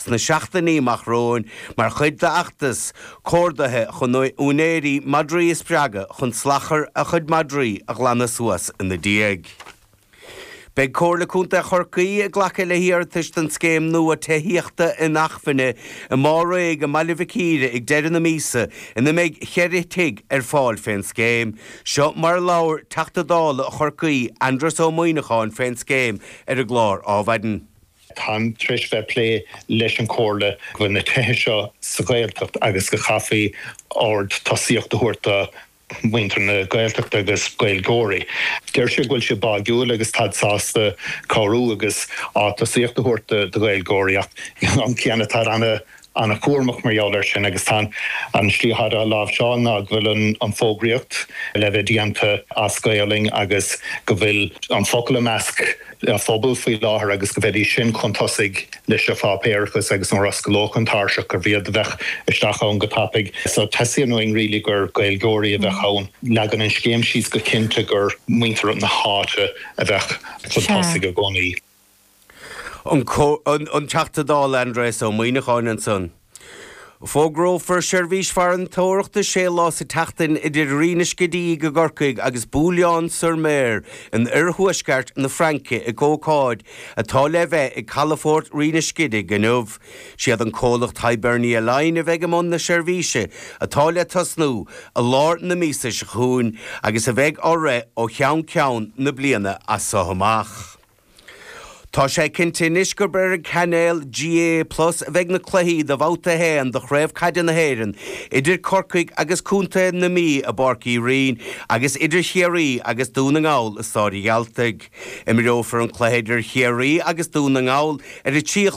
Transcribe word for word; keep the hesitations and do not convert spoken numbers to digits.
sna seachtainí amach romhainn mar chuid d'fheachtas comhordaithe chun úinéirí madraí a spreagadh chun salachar a chuid madraí a ghlanadh suas ina ndiaidh. Beidh Comhairle Contae Chorcaí ag glacadh le hiarratais don scéim nua tithíochta inacmhainne i mBarr i mBaile Mhic Íre ag deireadh na míosa ina mbeidh ceithre tigh ar fáil fén scéim. Seo mar labhair Teachta Dála Chorcaí Aindrias Ó Muimhneacháin fén scéim ar an gclár Adhmhaidin. Táim tar éis bheith plé leis an Chomhairle go bhfuil na tithe seo sa Ghaeltacht agus go gcaithfí ard tosaíocht a thabhairt do mhuintir na Gaeltachta agus Gaeilgeoirí. Deir sé go bhfuil sé báúil agus tá sásta cabhrú agus á tosaíocht a thabhairt do Ghaeilgeoirí ach an céanna tá ana an-chúramach mar gheall air sin agus tá an slí á láimhseáil ná go bhfuil an fógraíocht le bheith déanta as Gaelainn agus go bhfuil an focal i measc phobal faoi láthair agus go bhféadfaí sin chun tosaigh leis an pháipéarachas agus an roscalóch an tairseach gur bhíad a bheith isteach ann go tapaidh. So teastaíonn uainn really gur Gaeilgeoirí a bheith ann leagann an scéim síos go cinnte gur muintir na háite a bheith chun tosaigh i gcónaí. An, an Teachta Dála Aindrias Ó Muimhneacháin ansan. Fógrófar seirbhís farantóireachta sé lá sa tseachtain idir Rinn Scidígh i gCorcaigh agus Boulogne-sur-Mer in oirthuaisceart na Fraince ag ócáid atá le bheith ag Calafort Rinn Scidígh inniu. Siad an comhlacht Hibernia Line a bheidh i mbun na seirbhíse atá le tosnú i lár na míosa seo chugainn agus a bheidh á rith ó cheann ceann na bliana as seo amach. Tá sé cinnte anois gur ar an cainéal GAA Plus a bheidh na cluichí do bhabhta haon de Chraobh Caide na hÉireann, idir Corcaigh agus Contae na Mí i bPáirc Uí Rinn agus idir Chiarraí agus Dún na nGall i Staid an Ghealtaigh. Imreofar an cluiche idir Chiarraí agus Dún na nGall ar a trí